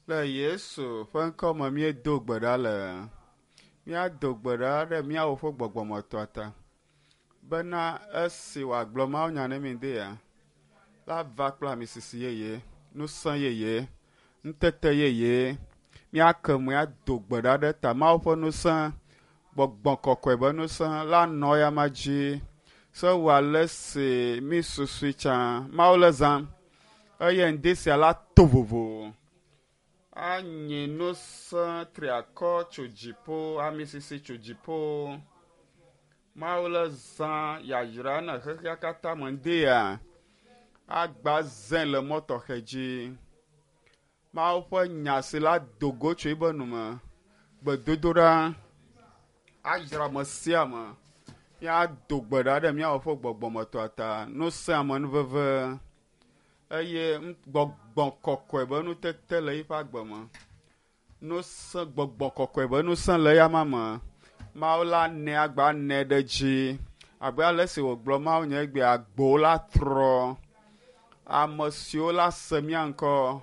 Le Yesu ƒe ŋkɔ me míedo gbe ɖa le. Míado gbe ɖa ɖe míawo ƒe gbɔgbɔmetɔa ta bena esi wòagblɔ mawunya ne mi dea, la va kple amisisi yeye, ŋusẽ yeye, ŋutete yeye. Míake mo ado gbe ɖa ɖe ta Mawu ƒe ŋusẽ, gbɔgbɔ kɔkɔe ƒe ŋusẽ la nɔ eyama dzi. Se wɔ ale si mi susui tsã. Mawu le zãm eye ŋdi sia la to vovo. Anyi ŋusẽ triakɔ tso dziƒo, amisisi tso dziƒo. Mawu le zã yayra ne xexea katã me ŋdi ya agba zẽ le mɔ tɔxɛ dzi. Mawu ƒe nya si la do go tso eƒe nu me. Gbedodoɖa ayra ame sia ame. Míado gbe ɖa ɖe míawo ƒe gbɔgbɔmetɔa ta. Ŋusẽ amenuveve eye gbɔgbɔ kɔkɔe be nutete le eƒe agbe me. Ŋusẽ gbɔgbɔ kɔkɔe be ŋusẽ le eyama me. Mawu la nɛ agba nɛ ɖe dzi abe ale si wògblɔ Mawu nye egbea agbowo la trɔ. Ame siwo la se mía ŋkɔ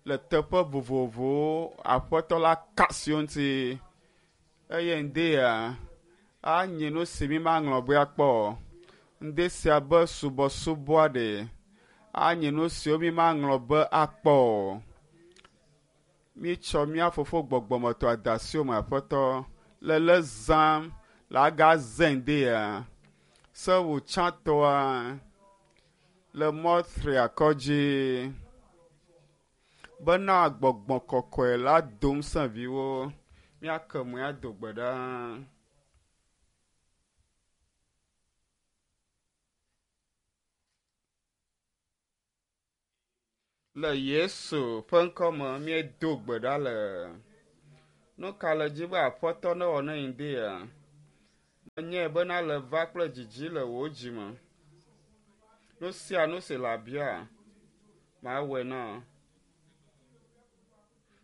le teƒe vovovowo aƒetɔ la ka asi wo ŋuti eye ŋdi ya anyi nu si mi maŋlɔ be akpɔ o. Ŋdi sia be subɔsubɔa ɖe anyi nu siwo mi maŋlɔ be akpɔ o. Mítsɔ mía fofo gbɔgbɔmetɔ da asi wo me aƒetɔ le le zãm le aga zẽ ŋdi ya sewu tsãtɔa le mɔ triakɔ dzi bena gbɔgbɔ kɔkɔe la do ŋusẽ viwo. Míake mo ado gbe ɖa. Le Yesu ƒe ŋkɔ me míedo gbe ɖa le. Nu ka le dzi be aƒetɔ newɔ ne ŋdi ya? Menyae bena le va kple dzidzi le wò dzi me. Nu sia nu si le abia, mawɔe na wò.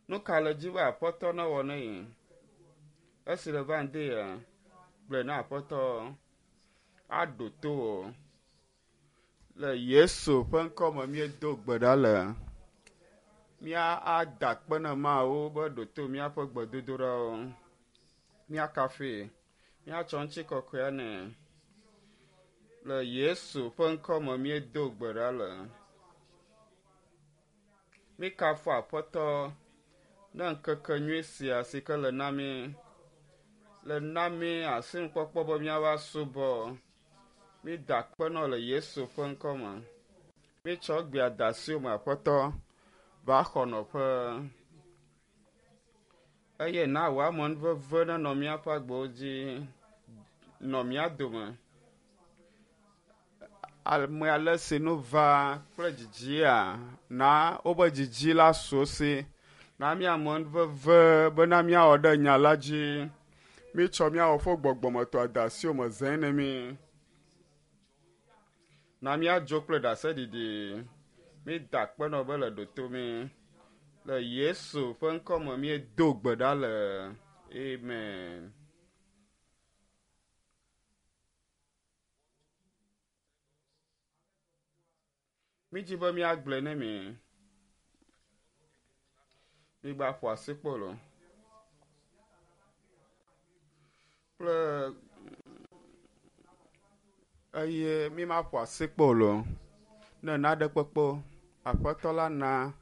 Nu ka le dzi be aƒetɔ newɔ ne yi? Esi le va ŋdi ya, gblɔe na aƒetɔ aɖo to wò. Le Yesu ƒe ŋkɔ me míedo gbe ɖa le. Mía ada akpe na Mawu be ɖo to míaƒe gbedodoɖawo. Míakafui, míatsɔ ŋutikɔkɔea nɛ. Le Yesu ƒe ŋkɔ me míedo gbe ɖa le. Míkafu Aƒetɔ ne ŋkeke nyui sia si ke le na mí, le na mí asinukpɔkpɔ be míava subɔ. Mída akpe nɔ le Yesu ƒe ŋkɔ me. Mítsɔ egbea da asi wo me Aƒetɔ va xɔ nɔƒe. Eye na wò amenuveve nenɔ míaƒe agbewo dzi, nɔ mía dome. Ame ale si nu va kple dzidzia, na wobe dzidzi la su wo si. Na mía amenuveve bena míawɔ ɖe nya la dzi. Mítsɔ míawo ƒe gbɔgbɔmetɔ da asi wo me zẽ ne mí. Na míadzo kple ɖaseɖiɖi. Mída akpe nɔ be le ɖo mí. Le Yesu ƒe ŋkɔ me míedo gbe ɖa le. Amen. Mídzi be míagblɔe ne mi. Mígba ƒo asikpolo. Kple eye mímaƒo asikpolo ne naɖe kpekpe Aƒetɔ la na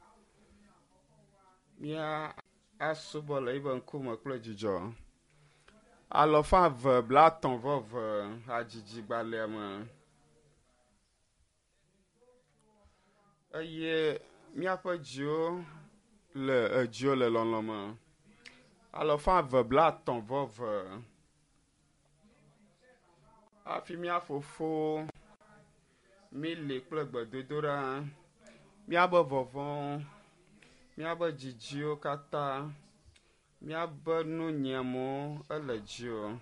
mía asubɔ le eƒe ŋkume kple dzidzɔ. Alɔfa eve blaetɔ̃ vɔ eve hadzidzigbalẽa me. Eye míaƒe dziwo le edziwo le lɔlɔ me. Alɔfa eve blaetɔ̃ vɔ eve. Hafi mía fofo míli kple gbedodoɖa, míabe vɔvɔ̃wo, míabe dzidziwo katã, míabe nunyiamewo ele dziwò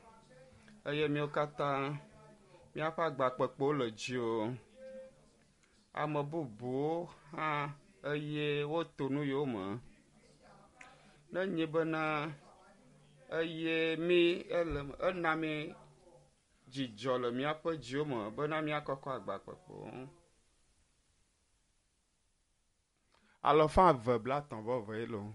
eye míawo katã míaƒe agbakpekpewo le dziwò. Ame bubuwo hã eye woto nu yiwo me. Ne nye bena eye mí ele ena mí dzidzɔ le míaƒe dziwo me bena míakɔkɔ agbakpekpewo. Alɔfa eve blatɔ̃ vɔ eve ye loo.